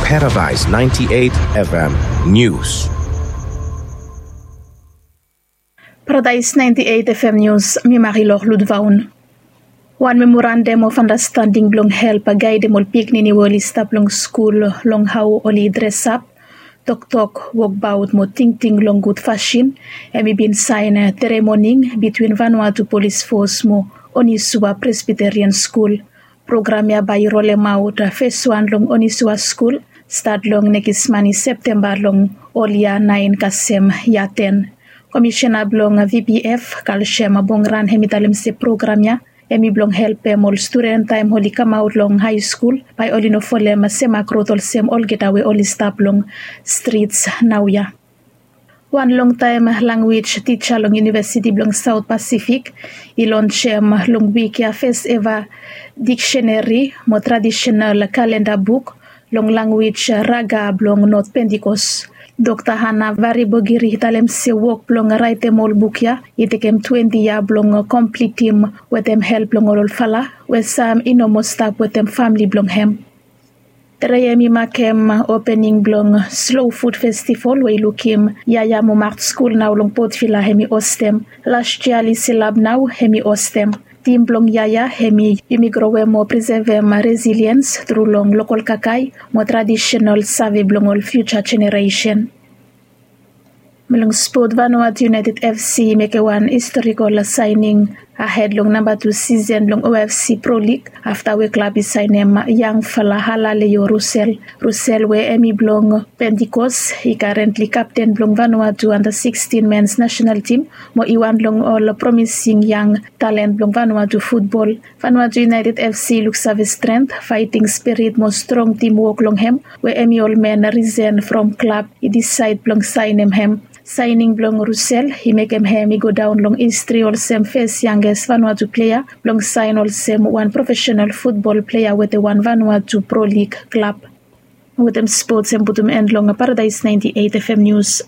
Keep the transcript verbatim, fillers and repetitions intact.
Paradise ninety-eight F M News. Paradise ninety-eight F M News, mi Marilor Ludvaun. Wan memorandum of understanding blong help gaedem ol pikinini we oli stap long skul long hao oli dresap, toktok, wokbaot mo tingting long gud fasin, hemi bin saen tere moning bitwin Vanuatu Polis Fos mo Onisua Presbyterian Skul. Program ya bae i rolemaot fes wan long Onisua Skul, stat long nekis mani Septemba long ol yia naen kasem yia ten. Komisiona blong V P F, Kalsiam Bongran, hemi talem se program ya hemi blong helpem ol studen taem oli kamaot long haeskul bae oli no folem semak rod olsem olgeta we oli stap long strits naoia. Wan longtaem langwej tija long Yunivesiti blong Saot Pasifik i lonsem long wik ya fes eva dikseneri mo tradisenal kalenda buk long langwej Raga blong Not Pentikos. Dokta Hana Varibogiri i talem se wok blong raetem ol buk ya i tekem twenti yia blong komplitim wetem help blong ol olfala we sam i no moa stap wetem famle blong hem. Tere ya hemi makem opening blong Slow Food Festival we i lukim yaya mo mak skul nao long Port Vila hemi ostem. Las yia Liselab nao hemi ostem. Tim blong yaya hemi yumi growem mo prisevem resiliens tru long lokol kakae mo tradisenal save blong ol fiuja jeneresen. Mo long spot, Vanuatu United F C i mekem wan historikol saening ahed long namba tu sisen blong O F C Pro League afta we klab i saenem yangfala Halaleo Rusel. Rusel we hemi blong Pentikos i karentli kapten blong Vanuatu anda siksten mens nasenal tim mo i wan long ol promising yang talen blong Vanuatu futbol. Vanuatu United F C i luksave strent, faeting spirit mo strong timwok long hem we hemi ol men risen from klab i disaed blong saenem hem. Saening blong Rusel i mekem hem i godaon long histri olsem fes yanges Vanuatu plea blong saen olsem wan profesenal futbol plea wetem wan Vanuatu Pro League klab. Wetem spots hemi putum en long Paradise ninety-eight F M News.